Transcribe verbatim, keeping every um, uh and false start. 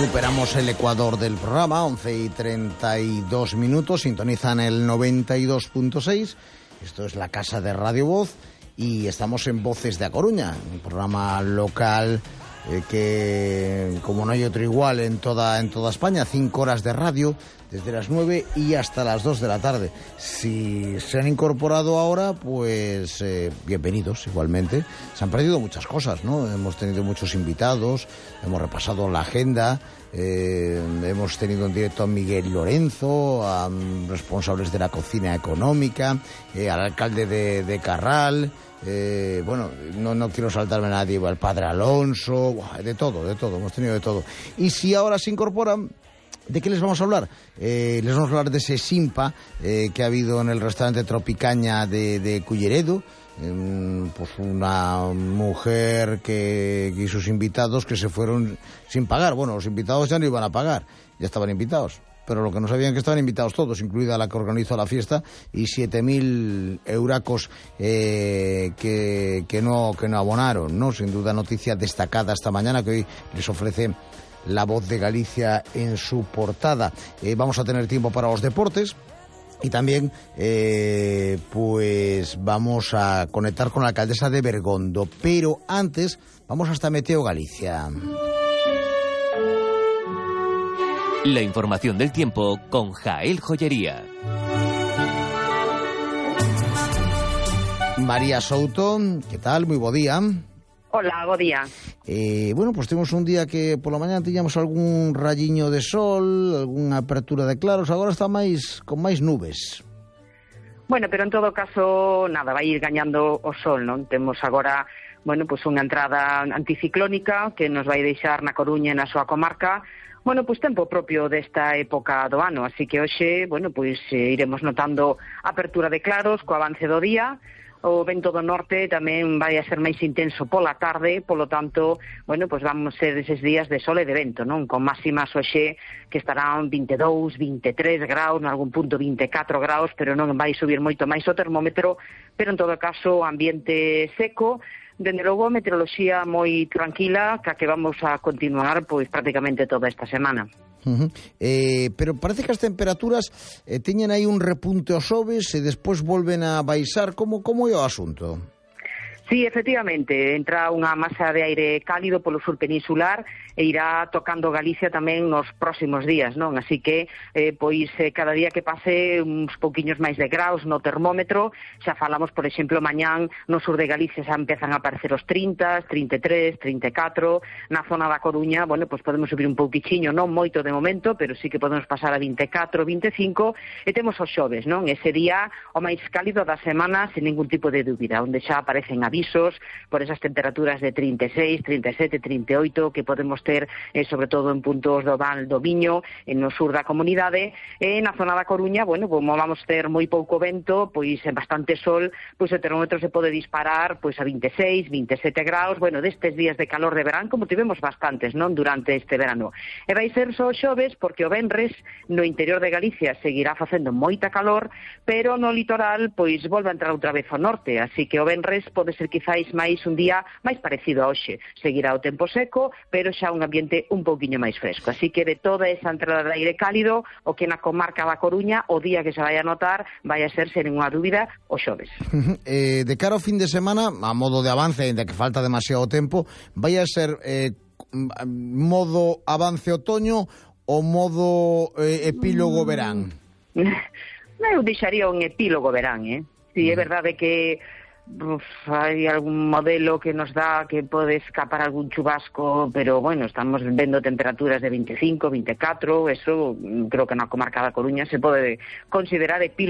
Superamos el ecuador del programa, once y treinta y dos minutos, sintonizan el noventa y dos punto seis. Esto es la Casa de Radio Voz y estamos en Voces de A Coruña, un programa local eh, que, como no hay otro igual en toda, en toda España, cinco horas de radio, desde las nueve y hasta las dos de la tarde. Si se han incorporado ahora, pues eh, bienvenidos igualmente. Se han perdido muchas cosas, ¿no? Hemos tenido muchos invitados, hemos repasado la agenda, eh, hemos tenido en directo a Miguel Lorenzo, a um, responsables de la cocina económica, eh, al alcalde de, de Carral. Eh, bueno, no, no quiero saltarme a nadie, al padre Alonso, de todo, de todo, hemos tenido de todo. Y si ahora se incorporan, ¿de qué les vamos a hablar? Eh, les vamos a hablar de ese Simpa eh, que ha habido en el restaurante Tropicaña de, de Culleredo. Eh, pues una mujer que, y sus invitados que se fueron sin pagar. Bueno, los invitados ya no iban a pagar, ya estaban invitados. Pero lo que no sabían que estaban invitados todos, incluida la que organizó la fiesta, y siete mil euracos eh, que, que, no, que no abonaron, ¿no? Sin duda noticia destacada esta mañana que hoy les ofrece La Voz de Galicia en su portada. Eh, vamos a tener tiempo para los deportes y también eh, pues vamos a conectar con la alcaldesa de Bergondo. Pero antes vamos hasta Meteo Galicia. La información del tiempo con Jael Joyería. María Souto, ¿qué tal? Muy buen día. Hola, bo día. Eh, bueno, pues temos un día que por la mañana tiñamos algún rayiño de sol, algunha apertura de claros, agora está máis con máis nubes. Bueno, pero en todo caso, nada, vai ir gañando o sol, non? Temos agora, bueno, pues unha entrada anticiclónica que nos vai deixar na Coruña e na súa comarca, bueno, pues tempo propio desta época do ano, así que hoxe, bueno, pues eh, iremos notando apertura de claros co avance do día. O vento do norte tamén vai a ser máis intenso pola tarde, polo tanto, bueno, pues vamos ser eses días de sol e de vento, non? Con máximas hoxe que estarán vinte e dous, vinte e tres graus, en algún punto vinte e catro graus, pero non vai subir moito máis o termómetro, pero en todo caso ambiente seco. Dende logo, a meteoroloxía moi tranquila, ca que vamos a continuar pois prácticamente toda esta semana. Uh-huh. Eh, pero parece que as temperaturas eh, teñen aí un repunte aos xoves e despois volven a baixar. Como, como é o asunto? Sí, efectivamente, entra unha masa de aire cálido polo sur peninsular e irá tocando Galicia tamén nos próximos días, non? Así que, eh, pois, eh, cada día que pase uns pouquiños máis de graus no termómetro, xa falamos, por exemplo, mañán no sur de Galicia xa empezan a aparecer os trinta, trinta e tres, trinta e catro, na zona da Coruña, bueno, pois podemos subir un pouquichiño, non moito de momento, pero sí que podemos pasar a vinte e catro, vinte e cinco, e temos os xoves, non? Ese día o máis cálido da semana, sen ningún tipo de dúbida, onde xa aparecen avisos por esas temperaturas de trinta e seis, trinta e sete, trinta e oito que podemos ter, eh, sobre todo en puntos do Val do Miño, en no sur da comunidade, e na zona da Coruña, bueno, como vamos ter moi pouco vento, pois en bastante sol, pois o termómetro se pode disparar pois a vinte e seis, vinte e sete graus, bueno, destes días de calor de verán, como tivemos bastantes, non, durante este verano. E vai ser só xoves porque o venres no interior de Galicia seguirá facendo moita calor, pero no litoral pois volve a entrar outra vez ao norte, así que o venres pode ser quizáis máis un día máis parecido a hoxe. Seguirá o tempo seco, pero xa un ambiente un pouquiño máis fresco. Así que de toda esa entrada de aire cálido, o que na comarca da Coruña, o día que se vai a notar, vai a ser, sen ninguna dúbida, o xoves. eh, de cara ao fin de semana, a modo de avance, ainda que falta demasiado tempo, vai a ser eh, modo avance otoño ou modo eh, epílogo verán? Eu deixaría un epílogo verán, eh? Si é verdade que Uf, hai algún modelo que nos dá que pode escapar algún chubasco, pero bueno, estamos vendo temperaturas de vinte e cinco, vinte e catro, eso creo que na comarca da Coruña se pode considerar epílogo